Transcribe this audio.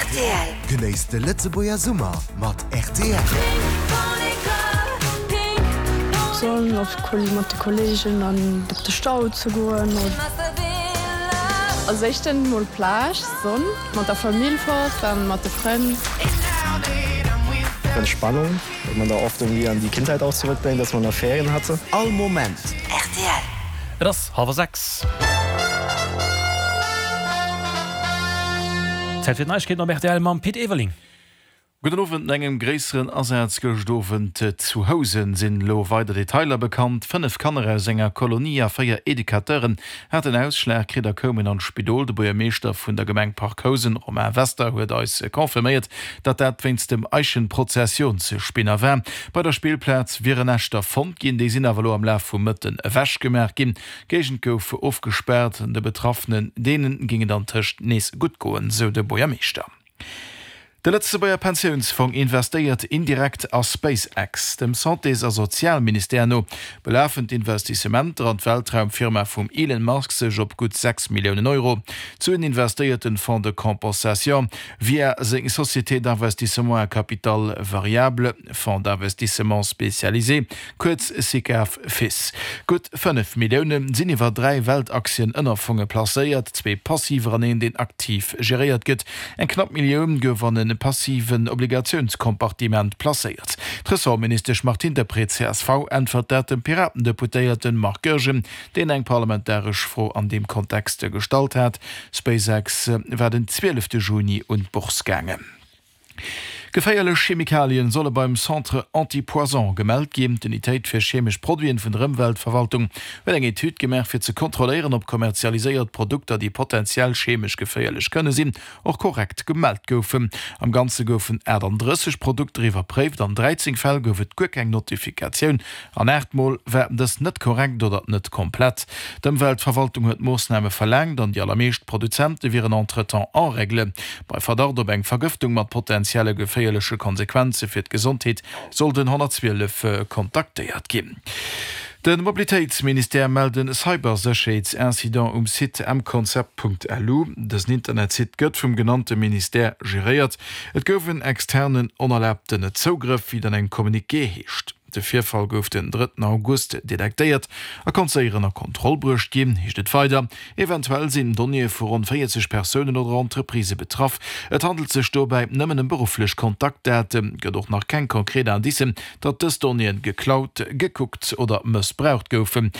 Rtl. Genéisst de Lëtzebuerger Summer mat rtl. Sonn op mat de Kollegen an op de Stau ze goen. Als éischten mol Plage, Sonn, mat der Famill fort an mat de Frënn. Entspannung, well man da oft irgendwie an die Kindheit auch zurückdenkt, dass man da Ferien hatte. All Moment. Rtl. Et ass hallwer 6. Zäit fir d'Neiegkeeten op rtl mam Pit Everling. Gudden Owend. No engem gréisseren Asaz gëscht Owend zu Housen sinn elo weider Detailer bekannt. 5 Kanner aus enger Kolonie a 4 Educateuren haten Ausschlag kritt a koumen an d'Spidol. De Buergermeeschter vun der Gemeng Parc Housen, Romain Wester, huet eis confirméiert, datt dat wéinst dem Eichenprozessionsspinner war. Bei der Spillplaz wieren Näschter fonnt ginn, déi sinn awer elo am Laf vum Mëtten ewechgemaach ginn. D'Géigend gouf ofgespaart. De Betraffenen, deene géing et antëscht nees gutt goen, sou de Buergermeeschter. De Lëtzebuerger Pensiounsfong investéiert indirekt a SpaceX. Dem Santés a Sozialministère no belafen d'Investissementer an d'Weltraumfirma vum Elon Musk sech op gutt 6 Milliounen Euro. D'Suen investéiert den Fonds de compensation via seng Société d'investissement à capital variable, Fonds d'investissement spécialisé, kuerz Sicav Fis. Gutt 5 Millioune sinn iwwer 3 Weltaktien-Ënnerfonge placéiert, zwee passiver an een, deen aktiv geréiert gëtt. Eng knapp Millioun gouf an e passiven Obligatiounskompartiment placéiert. D'Ressortministesch Martine Deprez, csv, äntwert dat dem Piraten-Deputéierte Marc Goergen, deen eng parlamentaresch Fro an deem Kontext gestallt hat. SpaceX war den 12 Juni un d'Bourse gaangen. Geféierlech Chemikalien solle beim Centre Antipoison gemellt ginn. D'Unitéit fir chemesch Produiten vun der Ëmweltverwaltung huet eng Etüd gemaach, fir ze kontrolléieren, ob kommerzialiséiert Produkter, déi potenziell chemesch geféierlech kënne sinn, och korrekt gemellt goufen. Am Ganze goufen 38 Produkter iwwerpréift. An 13 Fäll gouf et guer keng Notifikatioun. An 8 Mol war dës net korrekt oder net komplett. D'Ëmweltverwaltung huet Moossname verlaangt an déi allermeescht Produzente wieren entretemps en règle. Bei Verdacht op eng Vergëftung mat potenzielle geféierleche Konsequenze fir d'Gesondheet soll den 112 kontaktéiert ginn. De Mobilitéitsministère mellt en Cybersécherheetsincident um Site mconcept.lu. Dësen Internetsite gëtt vum genannte Ministère geréiert. Et gouf en externen onerlaabten Zougrëff, wéi et an engem Communiqué heescht. De Virfall gouf den drëtten August detektéiert a konnt séier ënner Kontroll bruecht ginn, heescht et weider. Eventuell sinn Donnéeë vu ronn 40 Persounen oder Entreprisë betraff. Et handelt sech dobäi nëmmen ëm berufflech Kontaktdaten. Gëtt och nach keng konkret Indicen, datt dës Donnéeën geklaut, gekuckt oder mëssbraucht goufen.